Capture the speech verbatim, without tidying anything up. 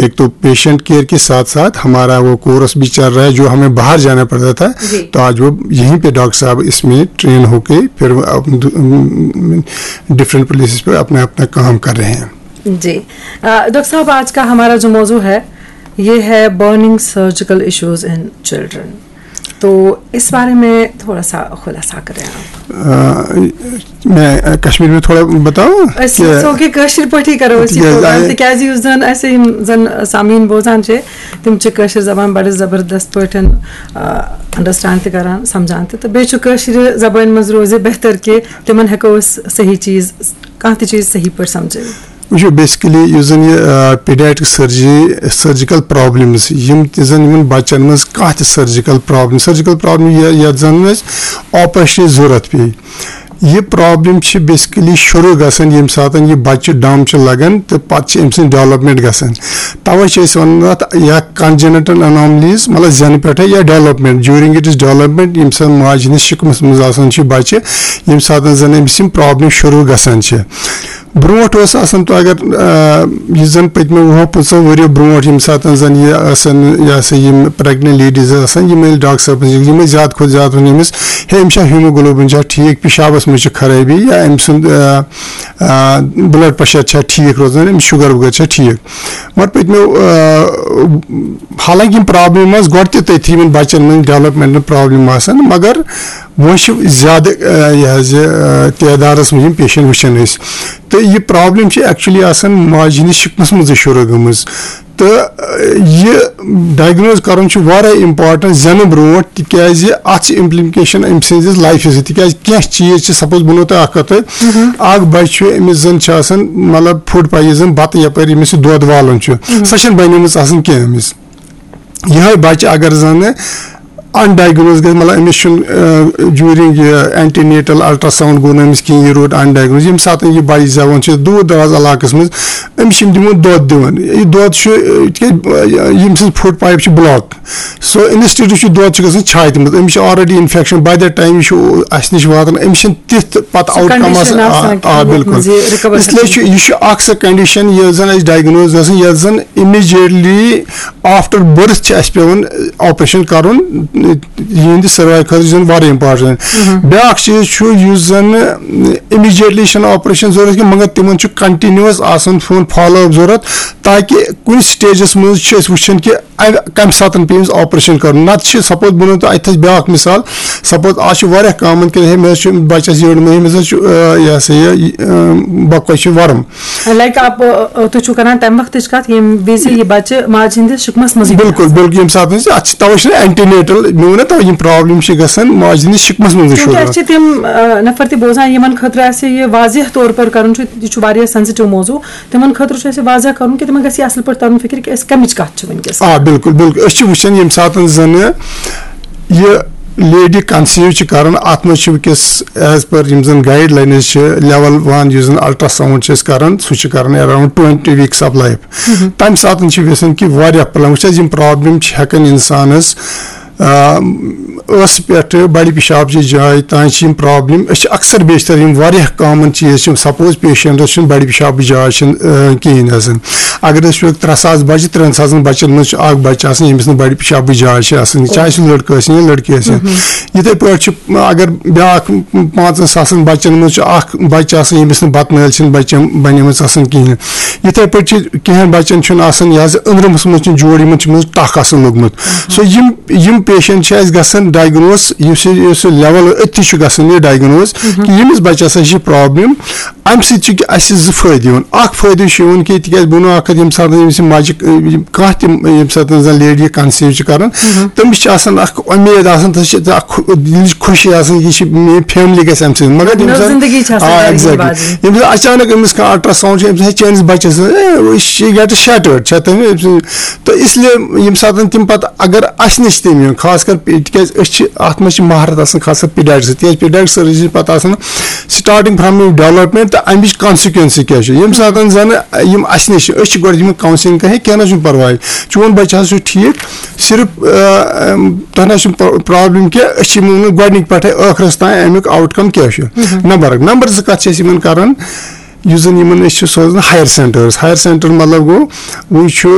एक तो patient care के साथ साथ हमारा वो कोर्स भी चल रहा है, जो हमें बाहर जाना पड़ता था। जी। तो आज वो यहीं पे डॉक्टर साहब इसमें ट्रेन होके फिर डिफरेंट प्लेसेस पे अपना अपना काम कर रहे हैं। जी। अ, डॉक्टर साहब, आज का हमारा जो मौजू है, ये है burning surgical issues in children. तो इस बारे में थोड़ा सा खुलासा करें आप। अ, मैं अ, कश्मीर में थोड़ा बताऊं أسۍ कि یژھو کہِ کٲشِر پٲٹھۍ کرو أسۍ یہِ تِکیٛازِ پروگرام، آے- تِکیٛازِ یُس زن اَسہِ یِم زن سامعیٖن بوزان چھِ، تِم چھِ کٲشِر زبان بڑٕ زبردست پٲٹھۍ انڈرسٹینڈ تہِ کران، سمجھان تہِ، تہٕ بیٚیہِ چھُ کٲشرِ زبٲنۍ منٛز روزِ بہتر کہِ تِمن ہٮ۪کو أسۍ صحیح چیٖز، کانٛہہ تہِ چیٖز صحیح پٲٹھۍ سمجھٲوِتھ۔ وٕچھو، بیسکلی یُس زن یہِ پیڈیٹرک سرجری، سرجیکل پرابلمز، یِم تہِ زن یِمن بچن منٛز کانٛہہ تہِ سرجیکل پرابلم، سرجیکل پرابلم یتھ زن أسۍ آپریشنٕچ ضرورت پیٚیہِ، یہِ پرابلم چھِ بیسکلی شروع گژھان ییٚمہِ ساتہٕ یہِ بچہِ ڈم چھُ لگان تہٕ پتہٕ چھِ أمۍ سٕنٛز ڈیولپمنٹ گژھان۔ توے چھِ أسۍ ونان اتھ یا کنجنٹل اناملیز، مطلب زینہٕ پٮ۪ٹھے یا ڈیولپمنٹ، ڈیورنگ اٹس ڈیولپمنٹ، ییٚمہِ ساتہٕ ماجہِ ہٕنٛدِس شکمس منٛز آسان چھِ بچہِ، ییٚمہِ ساتہٕ زن أمِس یِم پرابلم شروع گژھان چھِ۔ برونٛٹھ اوس آسان، تو اگر آ، یُس زن پٔتمیو وُہو پٕنٛژٕہو ؤریو برونٛٹھ ییٚمہِ ساتہٕ زن یہِ آسان، یہِ ہسا یِم پریگننٹ لیڈیز ٲسۍ آسان، یِم ییٚلہِ ڈاکٹر صٲبس نِش، یِمے زیادٕ کھۄتہٕ زیادٕ ووٚن أمِس، ہے، أمِس چھا ہیموگلوبن چھا ٹھیٖک، پِشابس منٛز چھِ خرٲبی، یا أمۍ سُنٛد بلڈ پریشر چھا ٹھیٖک روزان، أمِس شُگر وُگر چھا ٹھیٖک۔ مگر پٔتمیو آ، حالانکہ یِم پرابلم ٲس گۄڈٕ تہِ تٔتھی یِمن بچن منٛز ڈیولپمنٹ پرابلم آسان، مگر وۄنۍ چھِ زیادٕ آ، یہِ حظ یہِ آ، تعدادس منٛز یِم پیشنٹ وٕچھان أسۍ۔ تہٕ یہِ پرابلم چھِ ایکچولی آسان ماجہِ ہٕنٛدِس شِکمس منٛزٕے شروع گٔمٕژ۔ تہٕ آ، یہِ ڈائگنوز کرُن چھُ واریاہ امپورٹنٹ زینہٕ برونٛٹھ، تِکیازِ اتھ چھِ امپلیکیشن أمۍ سٕنٛزِس لایفہِ سۭتۍ۔ تِکیازِ کینٛہہ چیٖز چھِ، سپوز بہٕ وَنو تۄہہِ اکھ کتھ، اکھ بچہِ چھُ، أمِس زن چھِ آسان مطلب فوڈ پویزن، بتہٕ یپٲرۍ أمِس یہِ دۄد والُن چھُ، سۄ چھنہٕ بنیمٕژ آسان کینٛہہ أمِس۔ یِہوٚے بَچہِ اگر زَنہٕ اَن ڈایگنوز گژھِ، مطلب أمِس چھُنہٕ ڈیوٗرِنگ یہِ اینٹی نیٹل الٹراساؤنڈ گوٚو نہٕ أمِس کِہیٖنۍ، یہِ روٗد اَن ڈایگنوز۔ ییٚمہِ ساتہٕ یہِ بَچہِ زٮ۪وان چھِ دوٗر دراز علاقَس منٛز، أمِس چھِ یِم دِوان دۄد دِوان، یہِ دۄد چھُ تِکیازِ ییٚمہِ سۭتۍ فُڈ پایپ چھِ بلاک، سو اِنسٹیٹیوٗٹ چھُ دۄد چھُ گژھان چھاتہِ منٛز، أمِس چھِ already infection, by that time یہِ چھُ اَسہِ نِش واتان، أمِس چھِنہٕ تِژھ تہِ پَتہٕ آؤٹ کم condition آسان۔ آسان آ، کِہیٖنۍ، آ، بِلکُل۔ یَتھ منٛز یہِ recover اس لیے گژھِ۔ چھُ، یہِ چھُ اکھ سۄ کنڈیشن یۄس زَن اَسہِ ڈایگنوز گژھان، یۄس زَن اِمیٖجیٹلی آفٹر بٔرتھ چھِ اَسہِ پٮ۪وان آپریشن کَرُن، یِہِنٛدِ سٔروایو خٲطرٕ چھُ زَن واریاہ امپارٹنٹ۔ بیٛاکھ چیٖز چھُ، یُس زَن اِمیٖجیٹلی چھُنہٕ آپریشن ضروٗرت کینٛہہ، مگر تِمن چھُ کنٹِنیوٗوَس آسان فون فالو اپ ضروٗرت، تاکہِ کُنہِ سٹیجَس منٛز چھِ أسۍ وٕچھان کہِ اَمہِ کَمہِ ساتہٕ پیٚیہِ أمِس آپریشن کَرُن۔ نَتہٕ چھِ، سپوز بہٕ وَنو تۄہہِ اَتہِ تھَس بیٛاکھ مِثال، سپوز آز چھُ واریاہ کامن کہِ ہے، مےٚ حظ چھُ بَچَس یٔڈ، مےٚ، أمِس حظ چھُ، آ، یہِ ہسا یہِ، یہِ، آ، بۄکہٕ وَچہِ چھُ ورُم۔ لایک آپ، آ، آ، تُہۍ چھِو کران تَمہِ وقتٕچ کَتھ، ییٚمہِ وِزِ یہِ بَچہِ ماجہِ ہِنٛدِس شِکمَس منٛزٕے چھُ بِلکُل، آسان۔ بِلکُل، ییٚمہِ ساتہٕ أسۍ اَتھ چھِ، تَوَے چھِنہٕ اینٹی نیٹل، مےٚ ووٚن نہ تَوَے، یِم پرابلم چھِ گژھان ماجہِ ہِنٛدِس شِکمَس منٛزٕے چوٗنٛکہِ شروٗع۔ اَسہِ چھِ تِم، آ، نفر تہِ بوزان، یِمن خٲطرٕ اَسہِ یہِ واضح طور پر کرُن چھُ، یہِ چھُ واریاہ سینسٹیو موضوع، تِمن خٲطرٕ چھُ اَسہِ واضح کرُن کہِ تِمن گژھِ یہِ اَصٕل پٲٹھۍ تَرُن فِکرِ کہِ أسۍ کَمِچ کَتھ چھِ وٕنکیٚس۔ آ، بِلکُل، بِلکُل۔ أسۍ چھِ وٕچھان ییٚمہِ ساتہٕ زَنہٕ یہِ لیڈی کنسیو چھِ کران، اَتھ منٛز چھِ وٕنکیٚس ایز پر یِم زَن گایڈ لاینٕز چھِ، لیول ون یُس زَن الٹراساؤنڈ چھِ أسۍ کران، سُہ چھِ کران اراؤنڈ ٹُوَنٹی ویٖکس آف لایف۔ تَمہِ ساتہٕ چھِ گژھان کہِ واریاہ پرابلم، وٕچھ حظ، یِم پرابلم چھِ ہٮ۪کان اِنسانَس، آ، ٲسہٕ پٮ۪ٹھٕ بَڑِ پِشاب چہِ جایہِ تام چھِ یِم پرابلم۔ أسۍ چھِ اکثر بیشتر یِم واریاہ کامن چیٖز چھِ، سپوز پیشنٹس چھُنہٕ بَڑِ پِشابٕچ جاے چھِنہٕ، آ، کِہیٖنۍ آسان۔ اگر أسۍ وٕچھو ترٛےٚ ساس بَچہِ، ترٛٮ۪ن ساسن بَچن منٛز چھُ اکھ بَچہِ آسان، ییٚمِس نہٕ بَڑِ پِشابٕچ جاے چھِ آسان، چاہے سُہ لٔڑکہٕ ٲسِن یا لٔڑکی ٲسِن۔ یِتھے پٲٹھۍ چھُ، اگر بیٛاکھ پانٛژن ساسن بَچن منٛز چھُ اکھ بَچہٕ آسان، ییٚمِس نہٕ بَتہٕ نٲلۍ چھِنہٕ بَچن بَنیمٕژ آسان کِہیٖنۍ۔ یِتھے پٲٹھۍ چھِ کینٛہہ بَچن چھُنہٕ آسان، یہِ حظ أنٛدرمس منٛز چھُنہٕ جوڑ، یِمن چھُ منٛز ٹکھ آسان لوٚگمُت۔ سو یِم، یِم پیشنٹ چھِ اَسہِ گژھان ڈایگنوز، یُس یہِ، یُس یہِ لیول أتھی چھُ گژھان یہِ ڈایگنوز کہِ ییٚمِس بَچس ہسا چھِ پرابلم۔ اَمہِ سۭتۍ چھِ اَسہِ زٕ فٲیدٕ یِوان۔ اکھ فٲیدٕ چھُ یِوان کہِ تِکیازِ بہٕ وَنو اکھ کَتھ، ییٚمہِ ساتہٕ أمِس یہِ ماجہِ، یِم کانٛہہ تہِ ییٚمہِ ساتہٕ زَن لیڈی یہِ کنسیو چھِ کران، تٔمِس چھِ آسان اکھ اُمید آسان، تَس چھِ اکھ خو-، دِلٕچ خوشی آسان، یہِ چھِ میٲنۍ فیملی گژھِ اَمہِ سۭتۍ۔ مگر ییٚمہِ نٔو ساتہٕ، زندگی چھِ آسان آ، گَرِ یِنہٕ exactly۔ واجیٚنۍ۔ ییٚمہِ ساتہٕ اچانک أمِس کانٛہہ الٹراساؤنڈ چھُ، أمِس ہے چٲنِس بَچَس، اے، she get shattered، چھےٚ تٔمۍ، تہٕ اس لیے ییٚمہِ ساتہٕ تِم پَتہٕ اگر اَسہِ نِش تِم یِن، خاص کر پی-، تِکیازِ أسۍ چھِ اَتھ منٛز چھِ مہارت آسان، خاص کر پیڈیٹرکس، تِکیازِ پیڈیٹرک سٔروِسز چھِ پَتہٕ آسان starting from development تہٕ اَمِچ consequence کیٛاہ چھِ۔ ییٚمہِ ساتہٕ زَنہٕ یِم اَسہِ نِش چھِ، أسۍ چھِ گۄڈٕ یِمن کاؤنسلنگ کران، ہے، کینٛہہ نہ چھُنہٕ پَرواے، چون بَچہٕ حظ چھُ ٹھیٖک، صرف، آ، آم، تۄہہِ نہ چھُ پرا-، پرابلم کینٛہہ، أسۍ چھِ یِمن گۄڈٕنِکۍ پٮ۪ٹھے ٲخرس تام اَمیُک آوُٹ کم کیٛاہ چھُ۔ نمبر اکھ۔ نمبر زٕ کَتھ چھِ أسۍ یِمن کران، یُس زَن یِمن أسۍ چھِ سوزان ہایر سینٹرس۔ ہایر سینٹر مطلب گوٚو، وۄنۍ چھُ